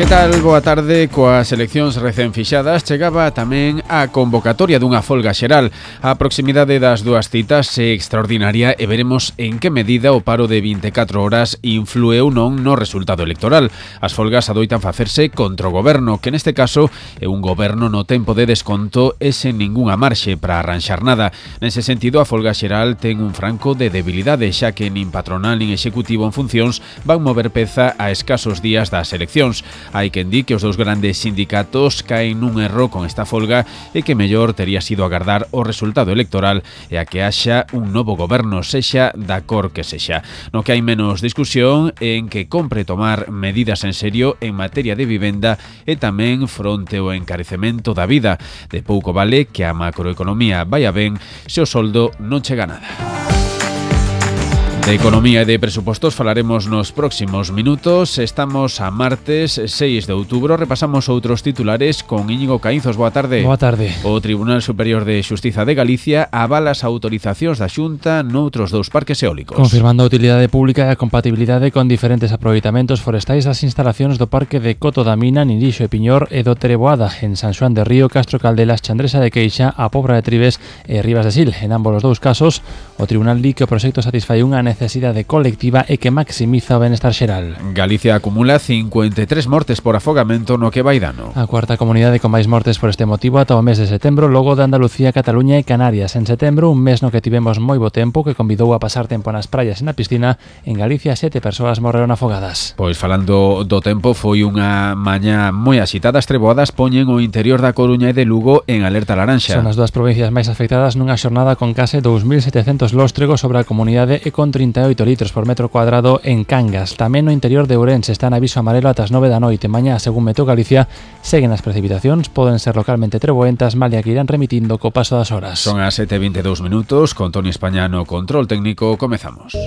Que tal? Boa tarde. Coas eleccións recén fixadas chegaba tamén a convocatoria dunha folga xeral. A proximidade das dúas citas é extraordinaria e veremos en que medida o paro de 24 horas influe ou non no resultado electoral. As folgas adoitan facerse contra o goberno, que neste caso é un goberno no tempo de desconto e sen ningunha marxe para arranxar nada. Nese sentido, a folga xeral ten un franco de debilidade, xa que nin patronal nin executivo en funcións van mover peza a escasos días das eleccións. Hai quen di que os dous grandes sindicatos caen nun erro con esta folga e que mellor tería sido agardar o resultado electoral e a que haxa un novo goberno, sexa da cor que sexa. No que hai menos discusión en que compre tomar medidas en serio en materia de vivenda e tamén fronte ao encarecemento da vida. De pouco vale que a macroeconomía vaya ben se o soldo non chega a nada. De economía e de presupostos falaremos nos próximos minutos. Estamos a martes 6 de outubro. Repasamos outros titulares con Íñigo Caínzos. Boa tarde. Boa tarde. O Tribunal Superior de Xustiza de Galicia avala as autorizacións da Xunta noutros dous parques eólicos. Confirmando a utilidade pública e a compatibilidade con diferentes aproveitamentos forestais das instalacións do Parque de Coto da Mina, Nirixo e Piñor e do Tereboada en San Xoán de Río, Castro Caldelas, Chandresa de Queixa, a Pobra de Tribes e Rivas de Sil. En ambos os dous casos, o Tribunal di que o proxecto satisfai unha necesidade colectiva e que maximiza o benestar xeral. Galicia acumula 53 mortes por afogamento no que vai dano. A cuarta comunidade con máis mortes por este motivo ata o mes de setembro, logo de Andalucía, Cataluña e Canarias. En setembro, un mes no que tivemos moi bo tempo que convidou a pasar tempo nas praias e na piscina, en Galicia 7 persoas morreron afogadas. Pois falando do tempo, foi unha mañá moi axitada. As treboadas poñen o interior da Coruña e de Lugo en alerta laranxa. Son as dúas provincias máis afectadas nunha xornada con case 2.700 lóstregos sobre a comunidade e con 38 litros por metro cuadrado en Cangas. Tamén no interior de Ourense está en aviso amarelo ata as 9 da noite. Mañá, según Meteo Galicia, seguen as precipitacións, poden ser localmente treboentas, malia que irán remitindo co paso das horas. Son as 7:22 minutos, con Toni España no control técnico, comezamos.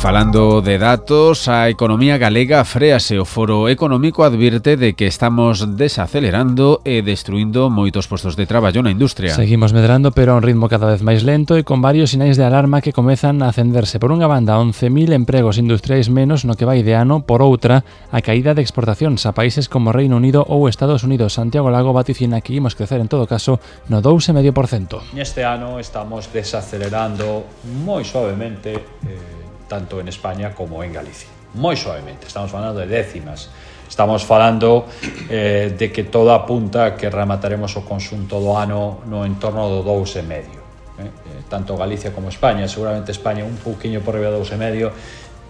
Falando de datos, a economía galega fréase. O Foro Económico advirte de que estamos desacelerando e destruindo moitos postos de traballo na industria. Seguimos medrando, pero a un ritmo cada vez máis lento e con varios sinais de alarma que comezan a acenderse. Por unha banda, 11.000 empregos industriais menos no que vai de ano. Por outra, a caída de exportacións a países como Reino Unido ou Estados Unidos. Santiago Lago vaticina que imos crecer en todo caso no 2,5%. Neste ano estamos desacelerando moi suavemente tanto en España como en Galicia. Moi suavemente, estamos falando de décimas. Estamos falando de que todo apunta que remataremos o conxunto do ano no entorno do 2,5. Tanto Galicia como España, seguramente España un pouquiño por riba do 2,5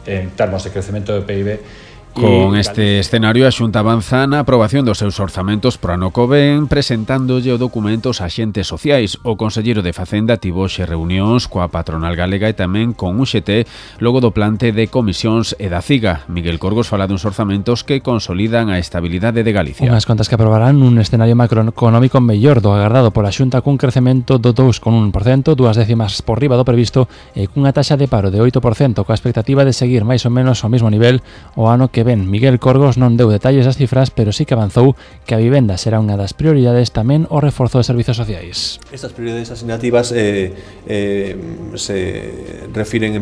en termos de crecemento do PIB. Con este escenario, a Xunta avanza na aprobación dos seus orzamentos pro ano que ven, presentándolle o documento aos axentes sociais. O conselleiro de Facenda tivo xe reunións coa patronal galega e tamén con UGT logo do plante de comisións e da CIGA. Miguel Corgos fala duns orzamentos que consolidan a estabilidade de Galicia. Unhas contas que aprobarán un escenario macroeconómico mellor do agardado pola Xunta, cun crecemento do 2,1%, 2 décimas por riba do previsto e cunha taxa de paro de 8%, coa expectativa de seguir máis ou menos ao mesmo nivel o ano que ben. Miguel Corgos non deu detalles das cifras, pero sí que avanzou que a vivenda será unha das prioridades, tamén o reforzo de servizos sociais. Estas prioridades asignativas se refiren en